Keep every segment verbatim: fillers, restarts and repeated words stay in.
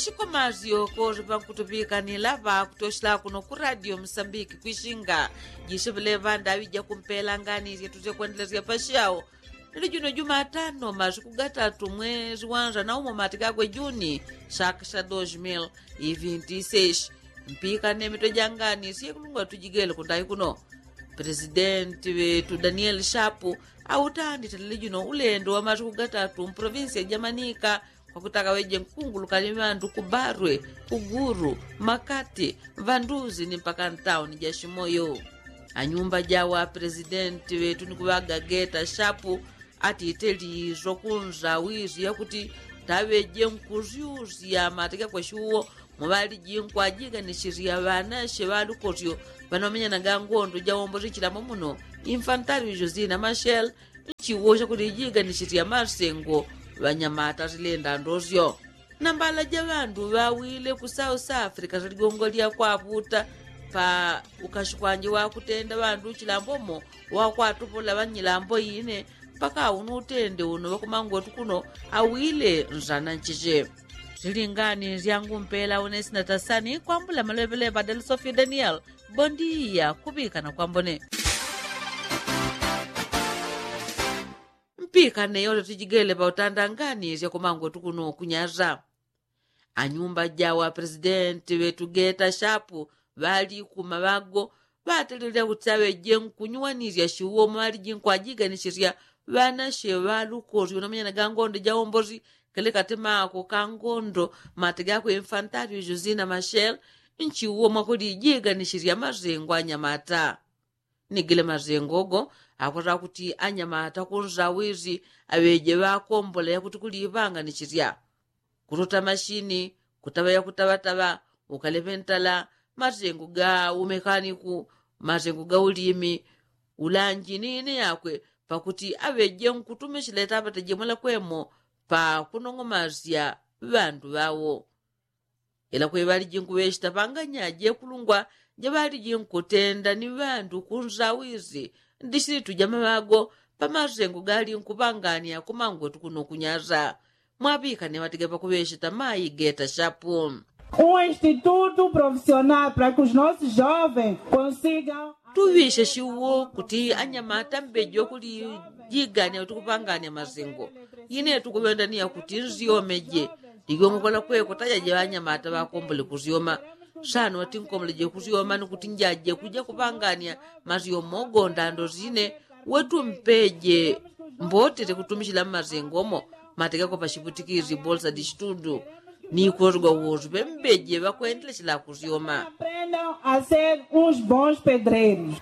Chikomazi yoko ripankutupikanila pakutoshela kuno ku radio msambiki kwishinga. Jishivileva ndaŵi jakumpela ngani syetu syekwendelesya pashao. Nili juno jumatano masiku gatatu mwezi wanza na umo matikakwe juni, saka sya dos mil e vinti seis. Mpikane mitwe jangani syekulungwa tujigele kundayi kuno. Presidenti ŵetu danieli shapu autandite lili juno ulendo wa masiku gatatu mprovinsi ya jamanika, kwakutaka ŵeje nkunguluka ni ŵandu ku barwe, ku guru, makati, ŵanduzi ni mpaka ntauni ja shimoyo. Anyumba jawa presidenti ŵetu ni kuŵaga geta shapu atite lizo kunza wizi yakuti taŵeje nkuzyuzya mateke kweshuwo. Muŵaliji nkwajiganisisya ŵanashe ŵalukosyo ŵanomenyanaga ngondo jawombosi chilambo muno, infantario josina mashel, nchiwosya kuti ijiganisisya masengo ŵanyamata silenda ndosyo. Nambala ja ŵandu ŵawile ku south africa siligongo lya kwaputa pa ukashikwanje wakutenda ŵandu chilambo mo wakwatupola ŵanyilambo ine, mpaka uno utende uno ŵakumangwetu kuno awile nzana nchiche. Silingani syangu mpela unesina tasani kwambula maleŵeleŵa delsofio daniel. Bondiya kuŵikana kwambone. Mpikane yose tijigele pautanda ngani syakumangwetu kuno kunyaza. Anyumba jawa presidenti ŵetu geta shapu ŵali kumaŵago ŵatelelya kuti aŵeje nkunyuwanisya shiwo mwaliji nkwajiganisisya ŵanashe ŵalukosyo namanyana ga ngondo jawombosi. Kele katemako ka ngondo mate gakwe infantario josina mashel nchiwo mwakulijiganisisya masengo anyamata. Nigile masengo go akwata kuti anyamata kunzawizi aŵeje ŵakombola yakuti kuliŵanganisisya. Kutota mashini, kutaŵa yakutaŵataŵa, ukaleŵe ntala, masengo ga umekaniku, masengo ga ulimi, ulanji ni ine yakwe pakuti aŵeje nkutumisila itaŵata jemwela kwemo pakunong'omasya ŵandu ŵawo. Ila kweŵaliji nkuŵechita panganya jekulungwa jeŵaliji nkutenda ni ŵandu kunzawizi ndisilitu jamaŵago pamasengo gali nkuŵangania kumangwetu kuno kunyasa. Mwaŵikane ŵatige pakuŵechita mayi geta shapu. Um instituto profissional para que os nossos jovens consigam tuŵishe shiwo kuti anyamata mbeji wakulijigania kuti kupangania masengo. Ine tukuŵendania kuti nzyomeje ligongokola kweko tajaje ŵanyamata ŵakombole kusyoma. Sano ŵatinkomboleje kusyoma ni kuti njaje kuja kupangania masyomo gonda ndosine. Wetu mpeje mbotere kutumishila mmasengo mo matekeko pashiputikizi bolsa di shitudu ni kulosigwa wosu pembeje ŵakwendelesela kusyoma. Aprendam a ser uns bons pedreiros.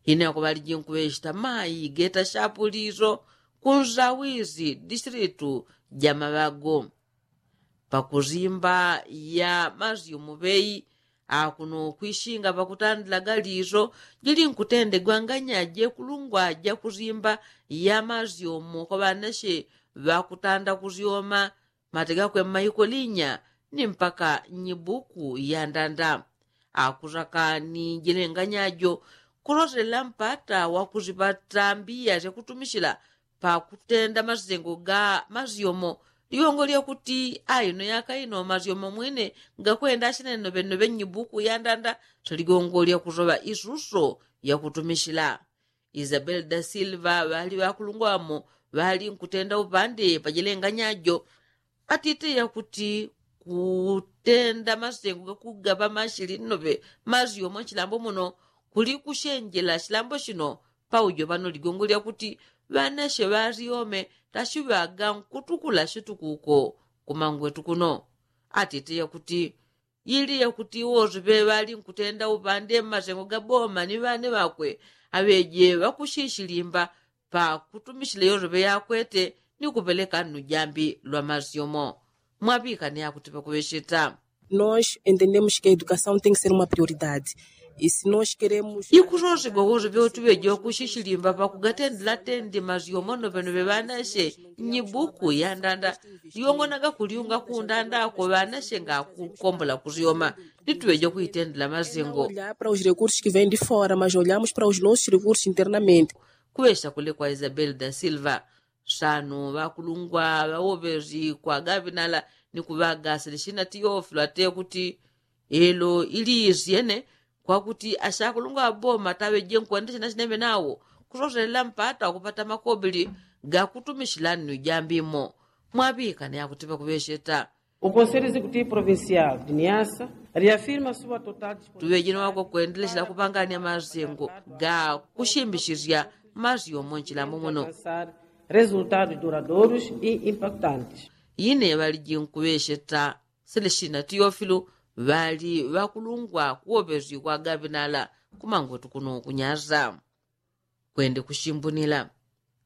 Ine akuŵaliji nkuŵechita mayi geta shapu liso kunzawizi distilitu jamaŵago. Pakusimba ya masyomo ŵei akuno kwishinga pakutandila galiso jili nkutendegwa nganya jekulungwa jakusimba ya masyomo kwa ŵanashe ŵakutanda kusyoma. Mate gakwe mmaiko linya ni mpaka nyibuku ya ndanda. Akusaka ni jilenganyajo kuloselela mpata wakusipata mbiya syakutumishila pakutenda masengo ga masyomo. Ligongo lyakuti aino yaka ino masyomo mwine ngakwenda ashinene noŵenoŵe nyibuku ya ndanda. Saligongo lyakusoŵa isuso yakutumishila. Isabel da silva ŵali ŵakulungwamo ŵali nkutenda upande pajilenganyajo. Atite yakuti kutenda masengo gakugaŵa mashili nnoŵe masyomo nchilambo muno kuli kushenjela shilambo shino. Paujo pano ligongo lyakuti ŵanashe ŵasyome tashiŵaga nkutukula shitukuko kumangwetu kuno. Atite yakuti yili yakuti wosi ŵeŵali nkutenda upande mmasengo gaboma ni ŵane ŵakwe aŵeje ŵakushishilimba pakutumishila yosi ŵeyakwete ni kupeleka nnu jambi lwa masyomo. Mwaŵikane akuti pakuŵecheta. Nos entendemos que a educação tem que ser uma prioridade. Isi nosi keremu ikusosigwa wosi ŵeoti ŵeje ŵakushishilimba pakugatendela tende masyomo noŵenoŵe ŵanashe nyibuku ya ndanda. Ligongo nagakuliunga kundandako ŵanashe ngakukombola kusyoma. Nituŵeje kuitendela masengo. Para os recursos que vem de fora mas olhamos para os nossos recursos internamente. Kuŵesha kule kwa isabel da silva. Sano ŵakulungwa ŵawoŵezi kwa gaŵinala ni kuŵaga selesina tiyofilo ate kuti elo ili isyene kwakuti asyakulungwa ŵaboma taŵeje nkwendesya na sineŵe nawo kusoselela mpata wakupata makobili gakutumisila nnu ijambimo. Mwaŵikane akuti ŵakuŵecheta. O konselyo exekutivu provincial de niasa reafirma sua total tuŵejeno wakokwendelesela kupangania masengo ga kusimbisisya masyomo nchilambo muno. Resultados duradoros e impactantes. Ine ŵaliji nkuŵecheta selesina tiyofilu ŵali ŵakulungwa kuwoŵesikwa gaŵinala kumangwetu kuno kunyasa. Kwende kusimbunila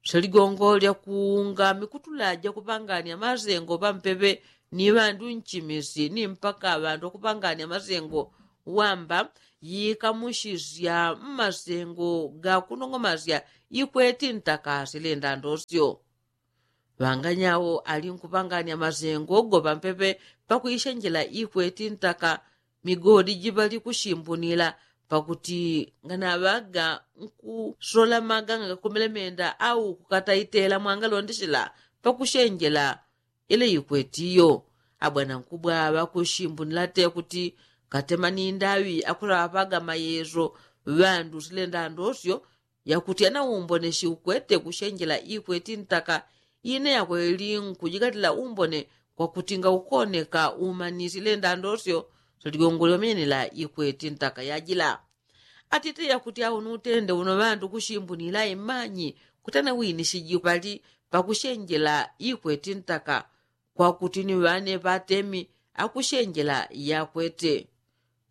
seligongo lyakuunga mikutula jakupangania masengo ŵampeŵe ni ŵandu nchimisi ni mpaka ŵandu ŵakupangania masengo wamba yikamusisya mmasengo gakunong'omasya ikweti ntaka silenda ndosyo. Ŵanganyawo ali nkupangania masengo go ŵampeŵe pakuisenjela ikweti ntaka migodi jiŵali kusimbunila pakuti nganaŵaga nkusola maganga gakumelemenda au kukataitela mwangalondesela pakusenjela ile ikweti iyo. Abwana nkubwa ŵakusimbunila te kuti katema ni ndaŵi akulaŵapaga mayeso ŵandu silenda ndosyo yakuti ana umbone siukwete kusenjela ikweti ntaka ine yakweli nkujigatila umbone kwakuti ngaukoneka umanisile ndandosyo seligongo lyomenela ikweti ntaka yajila. Atite yakuti awo nutende uno ŵandu kusimbunila imanyi kuti ana winisiji pali pakusenjela ikweti ntaka kwakuti ni ŵane ŵatemi akusenjela yakwete.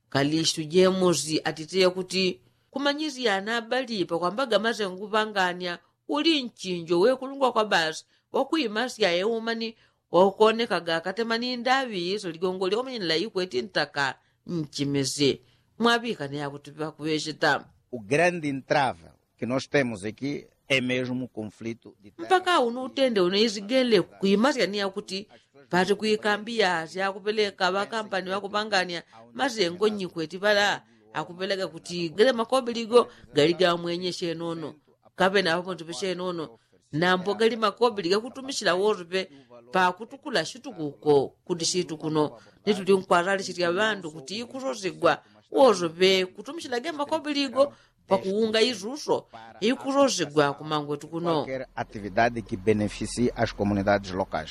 Kalistu jemusi atite yakuti kumanyisya ana abali pakwambaga masengo kupangania uli nchinjo wekulungwa kwa basi wakuimasya eumani wakukonekaga katema ni ndaŵi seligongo lyomenela ikweti ntaka nchimisi. Mwaŵikane yakuti ŵakuŵecheta. O grande entrava que nós temos aqui é mesmo conflito de mpaka uno utende uno izigele kuimasya ni yakuti pati kuikambiya syakupeleka ŵakampani ŵakupangania masengo nyikweti ŵala akupeleka kuti gele makobili go gali gamwenye syenono kapena ŵapontope syenono nambo gali makobili gakutumisila wosope pakutukula situkuko kuti situkuno. Nituli nkwalalisisya ŵandu kuti ikusosegwa wosope kutumisila ge makobili go pakuunga isuso ikusosegwa kumangwetu kuno. Atividade que beneficie as comunidades locais.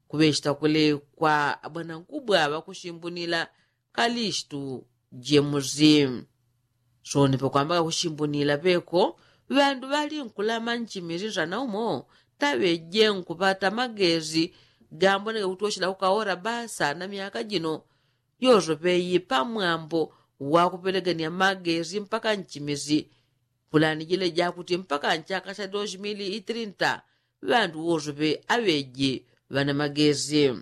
Kuŵechita kule kwa abwanankubwa ŵakusimbunila kalistu jemusi. Soni pakwamba kakusimbunila peko ŵandu ŵali nkulama nchimisi nsana umo taŵeje nkupata magesi gamboneka kuti wochila kukaora basa na myaka jino yosope yi pamwambo wakupelegania magesi mpaka nchimisi. Pulani jile jakuti mpaka nchaka cha dos mili i trinta ŵandu wosope aŵeji ŵana magesi.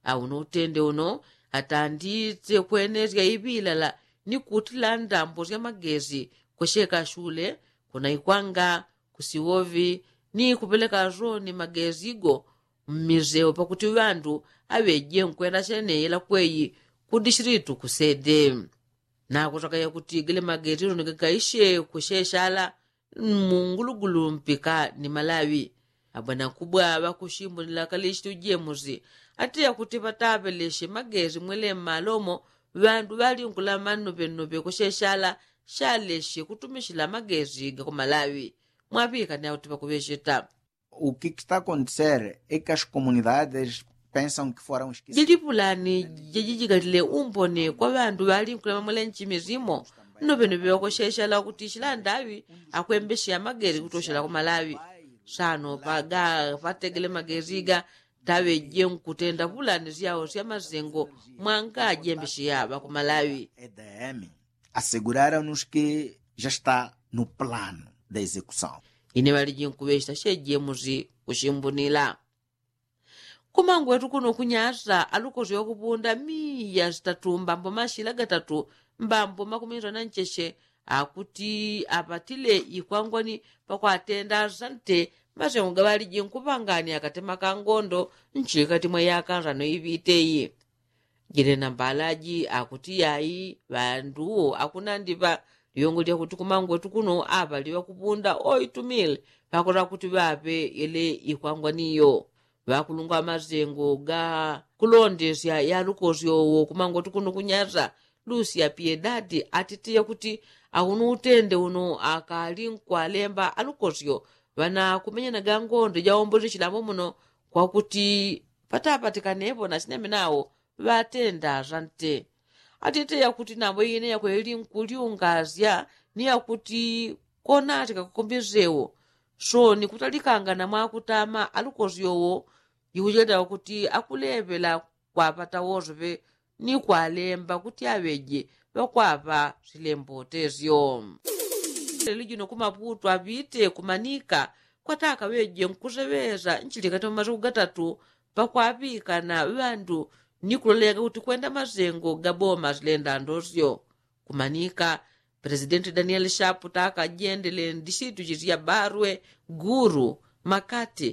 Auno utende uno atandite kwenesya iŵilala ni kutila ndambo sya magesi kweseka shule kuna ikwanga kusiwovi ni kupeleka soni magesi go mmiseo pakuti ŵandu aŵeje nkwenda syeneyela kweyi ku dishilitu kusede. Nakusakaya kuti gele magesi tonekekaisye kusheshala mungulugulu mpika ni malaŵi. Abwanankubwa ŵakusimbunila kalishitu jemusi atiya kuti ŵataŵeleshe magesi mwele mmalomo ŵandu ŵali nkulama nnuŵennuŵe kusheshala shaleshe kutumishila magesi gakumalaŵi. Mwaŵikane akuti ŵakuŵecheta. O que está acontecer é que as comunidades pensam que foram esquecidas. Jili pulani jajijikalile umbone kwa ŵandu ŵali nkulama mwele nchimi simo nnuŵennuŵe ŵakusheshala kuti shila ndaŵi akwembesheya magesi kutoshela kumalaŵi. Sano paga pategele magesi ga taŵeje nkutenda pulani syao sya masengo mwanga ajembesheya ŵakumalaŵi. Aseguraram-nos que já está no plano da execução. Ine ŵaliji nkuŵecheta shejemusi kusimbunila. Kumangwetu kuno kunyasa alukosi wakupunda miya sitatu mbambo mashila gatatu mbambo makumi nsana ncheche akuti apatile ikwangwani pakwatenda asante masengo gaŵaliji nkupangania katema ka ngondo nchikati mwa yaka nsano iŵite iyi. Jile nambalaji akuti yayi ŵandu akunandiŵa Iyongo lyakuti kumangwetu kuno aŵali ŵakupunda oitumile ŵakola kuti ŵaŵe yele ikwangwaniyo. Ŵakulungwa ŵamazengo ga kulondesya ya lukosyo wo kumangwetu kuno kunyasa lusi ya piedadi atitiya kuti aunu utende uno akali nkwalemba alukosyo ŵanakumenyanaga ngonde jaombozi chilambo muno kwakuti ŵataŵatikanepo na sineme nawo ŵatenda sante. Atite yakuti navo ine yakweli nkulyungasya ni yakuti konatika kukombesewo so ni kutalikanga na mwakutama alukosyowo. Ikucheleta kuti akuleŵela kwaŵata wosoŵe ni kwalemba kuti aŵeje ŵakwaŵa silembotesyo. Lelo jino kumaputu aŵite kumanika kwataka ŵeje nkuseŵesa nchilikati mwa masiku gatatu pakwaŵikana ŵandu ni kulolega kuti kwenda masengo ga boma silenda ndosyo. Kumanika presidenti danieli shapu taka jendele ndisitu chisya barwe guru makati